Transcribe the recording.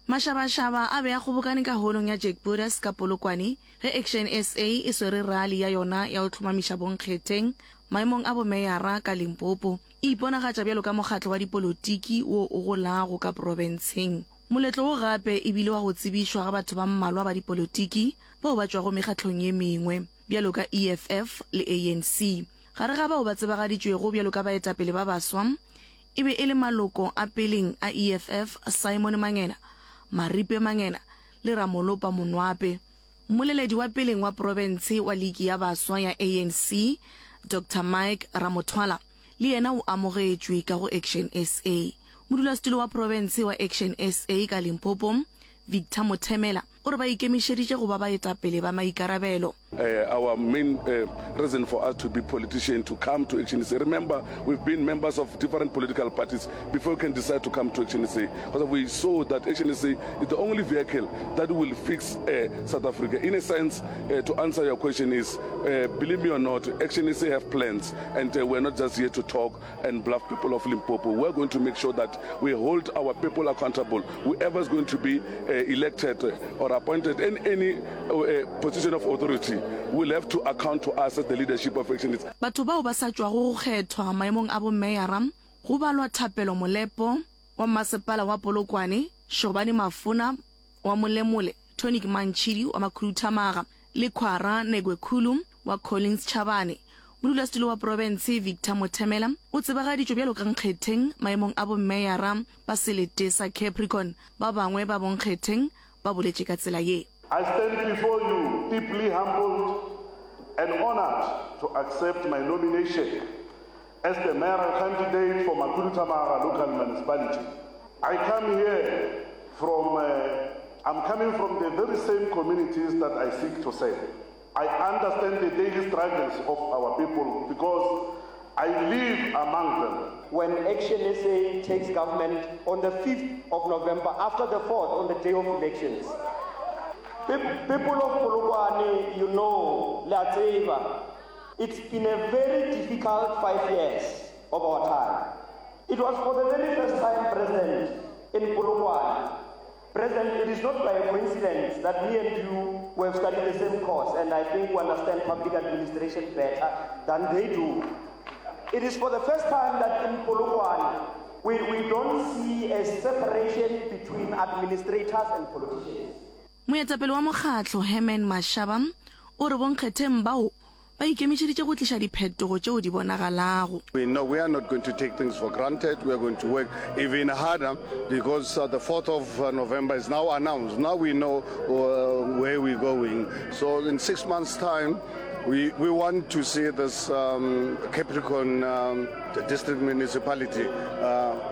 Mašabašaba a be a kgobokane ka holong ya Jack Budas ka Polokwane ge Action SA e swere rali ya yona ya go hlomamiša bonkgetheng maemong a bomeyara ka Limpopo. E iponagatša bjalo ka mokgatlo wa dipolotiki wo o golago ka profenseng. Moletlo wo gape e bile wa go tsebišwa ga batho ba mmalwa ba dipolotiki bao ba tšwago mekgatlong ye mengwe, bjalo ka EFF le ANC. Gare ga bao ba tsebagaditšwego bjalo ka baetapele ba baswa e be e le maloko a peleng a EFF Simon Mangena, Maripe Mangena le Ramolopa Monwape. Mmoleledi wa peleng wa profense wa liki ya baswa ya ANC, Doctor Mike Ramothwala, le yena o amogetšwe ka go Action SA. Modulasetulo wa profense wa Action SA ka Limpopo, Victor Mothemela, o re ba ikemišeditše go ba baetapele ba maikarabelo. Our main reason for us to be politician to come to Action SA, remember we've been members of different political parties before we can decide to come to Action SA, because we saw that Action SA is the only vehicle that will fix South Africa. In a sense, to answer your question is, believe me or not, Action SA have plans, and we're not just here to talk and bluff people of Limpopo. We're going to make sure that we hold our people accountable. Whoever is going to be elected or appointed in any position of authority will have to account to us as the leadership of Action. Batho bao ba sa tšwago go kgethwa maemong a bomeyara go balwa Thapelo Molepo wa Mmasepala wa Polokwane, Shobane Mafona wa Molemole, Tonic Mantšhidi wa Makhuduthamaga le Khwara Negwekhulu wa Collins Chabane. Modulasetulo wa profense Victor Mothemela o tsebagaditšwe bjalo ka nkgetheng maemong a bommeyara ba selete sa Capricorn. Ba bangwe ba bonkgetheng ba boletše ka tsela ye. I stand before you deeply humbled and honoured to accept my nomination as the mayoral candidate for Makhuduthamaga Local Municipality. I come here from, uh, I'm coming from the very same communities that I seek to serve. I understand the daily struggles of our people because I live among them. When Action SA takes government on the 5th of November, after the 4th, on the day of elections. People of Polokwane, you know, le a tseba, it's been a very difficult 5 years of our time. It was for the very first time, President, in Polokwane. President, it is not by a coincidence that me and you we have studied the same course, and I think we understand public administration better than they do. It is for the first time that in Polokwane, we, we don't see a separation between administrators and politicians. Moetapele wa mokgatlo, Herman Mashaba, o re bonkgetheng bao ba ikemišeditše go tliša diphetogo tšeo di bonagalago. We know we are not going to take things for granted, we are going to work even harder because the 4th of November is now announced. Now we know where we're going. So in 6 months time, we, we want to see this um, Capricorn um, district municipality uh,